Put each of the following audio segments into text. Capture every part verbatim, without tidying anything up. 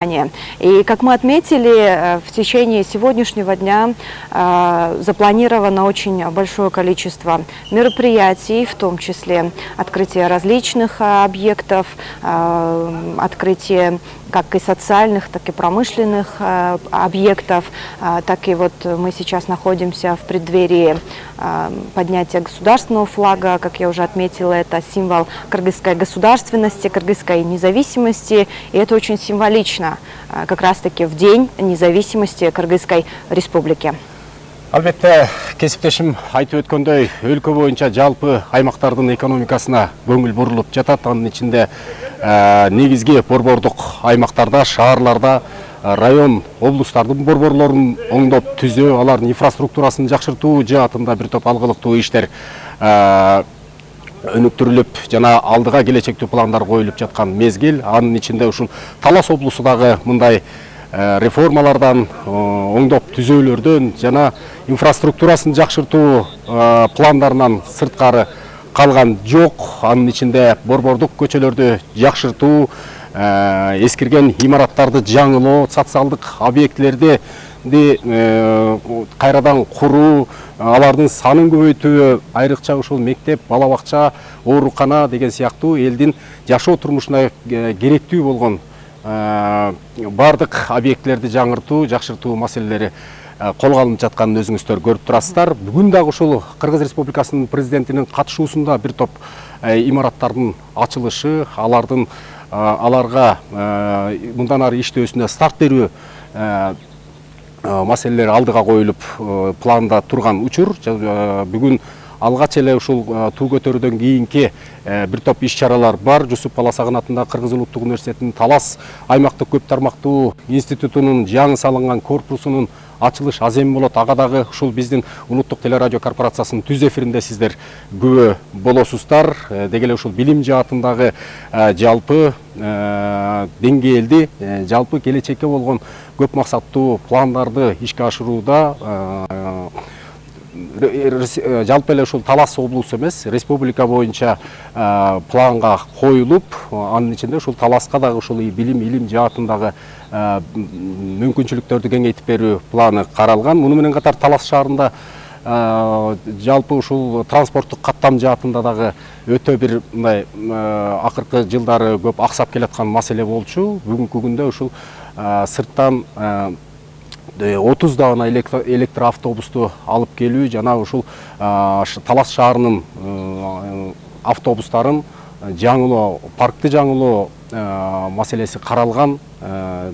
И, как мы отметили, в течение сегодняшнего дня э, запланировано очень большое количество мероприятий, в том числе открытие различных э, объектов, э, открытие как и социальных, так и промышленных э, объектов. Э, так и вот мы сейчас находимся в преддверии э, поднятия государственного флага. Как я уже отметила, это символ кыргызской государственности, кыргызской независимости. И это очень символично, э, как раз-таки в День независимости Кыргызской Республики. Албетте, кесиптешим айтып өткөндөй, өлкө боюнча жалпы аймактардын экономикасына көңүл бурулуп жатат. Анын ичинде негизги борбордук аймактарда, шаарларда, район, облустардын борборлорун оңдоп түзөө, алардын инфраструктурасын жакшыртуу жаатында бир топ алгылыктуу иштер өнүктүрүлүп, жана алдыга келечектүү пландар коюлуп жаткан мезгил. Анын ичинде ушул Талас облусу дагы мындай реформалардан, оңдоп түзөөлөрдөн жана инфраструктурасын жакшыртуу пландарынан сырткары калган жок. Анын ичинде борбордук көчөлөрдү жакшыртуу, эскирген имараттарды жаңылоо, социалдык объектилерди кайрадан куруу, алардын санын көбөйтүү, айрыкча ушул мектеп, бала бакча, оорукана деген сыяктуу элдин жашоо турмушуна керектүү болгон бардык объектилерди жаңыртуу, жакшыртуу маселелери колго алынып жатканын өзүңүздөр көрүп турасыздар. Бүгүн дагы ушул Кыргыз Республикасынын президентинин катышуусунда бир топ имараттардын ачылышы, алардын аларга мындан ары иштөөсүнө старт берүү маселелери алдыга коюлуп планда турган учур. Бүгүн алгач эле ушул туу көтөрүүдөн кийинки бир топ иш-чаралар бар. Жусуп Баласагын атындагы Кыргыз Улуттук университетинин Талас аймактык көп тармактуу институтунун жаңы салынган корпусунун ачылыш аземи болот. Ага дагы ушул биздин улуттук телерадио корпорациясынын түз эфиринде сиздер күбө болосуздар. Деги эле ушул билим жаатындагы жалпы деңгээлди, жалпы келечекке болгон көп максаттуу пландарды ишке ашырууда жалпы эле ушул Талас облусу эмес, республика боюнча планга коюлуп, анын ичинде ушул Таласка дагы ушул билим, илим жаатындагы мүмкүнчүлүктөрдү кеңейтип берүү планы каралган. Муну менен катар Талас шаарында жалпы ушул транспорттук каттам жаатында дагы өтө бир мындай акыркы жылдары көп аксап келаткан маселе болчу. Бүгүнкү күндө ушул сырттан отуздагана электр автобусту алып келүү жана ушул Талас шаарынын автобустарын жаңылоо, паркты жаңылоо маселеси каралган.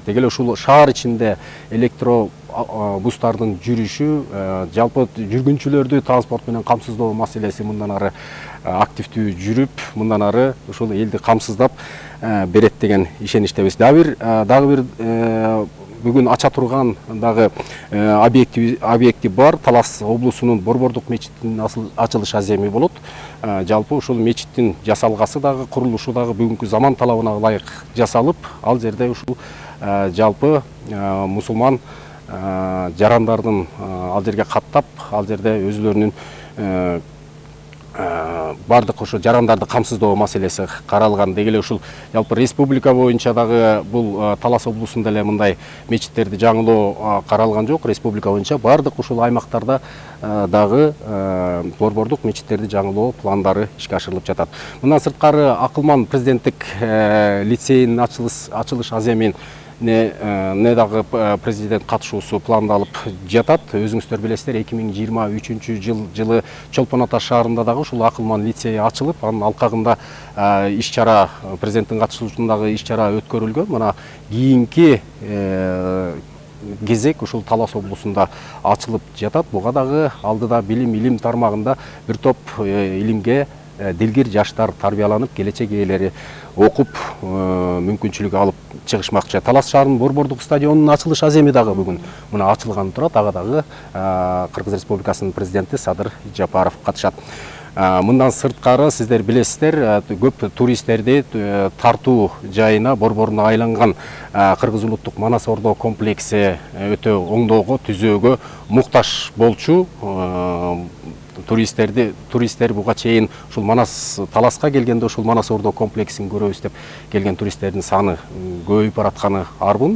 Деги эле ушул шаар ичинде электробустардын жүрүшү, жалпы жүргүнчүлөрдү транспорт менен камсыздоо маселеси мындан ары активдүү жүрүп, мындан ары ушул элди камсыздап берет деген ишеничтебиз. Дагы бир дагы бир бүгүн ача турган дагы объекти объекти бар. Талас облусунун борбордук мечитинин ачылыш аземи болот. Жалпы ушул мечиттин жасалгасы дагы, курулушу дагы бүгүнкү заман талабына ылайык жасалып, ал жерде ушул жалпы мусулман жарандардын ал жерге каттап, ал жерде өзүлөрүнүн бардык ошо жарандарды камсыздоо маселеси каралган. Деги эле ушул жалпы республика боюнча дагы бул Талас облусунда эле мындай мечиттерди жаңылоо каралган жок. Республика боюнча бардык ушул аймактарда дагы борбордук мечиттерди жаңылоо пландары ишке ашырылып жатат. Мындан сырткары Акылман президенттик лицейинин ачылыш ачылыш аземин не дагы президент катышуусу пландалып жатат. Өзүңүздөр билесиздер, эки миң жыйырма үчүнчү жыл жылы Чолпон Ата шаарында дагы ушул Акылман лицейи ачылып, анын алкагында иш-чара, президенттин катышуусундагы иш-чара өткөрүлгөн. Мына кийинки кезек ушул Талас облусунда ачылып жатат. Буга дагы алдыда билим, илим тармагында бир топ илимге дилгир жаштар тарбияланып, келечек ээлери окуп, мүмкүнчүлүк алып чыгышмакчы. Талас шаарынын борбордук стадионунун ачылыш аземи дагы бүгүн мына ачылган турат. Ага дагы Кыргыз Республикасынын президенти Садыр Жапаров катышат. Мындан сырткары сиздер билесиздер, көп туристтерди тартуу жайына, борборуна айланган Кыргыз улуттук Манас Ордо комплекси өтө оңдоого, түзөөгө муктаж болчу. туристтерди туристтер буга чейин ушул Манас Таласка келгенде ушул Манас Ордо комплексин көрөбүз деп келген туристтердин саны көбөйүп баратканы арбын.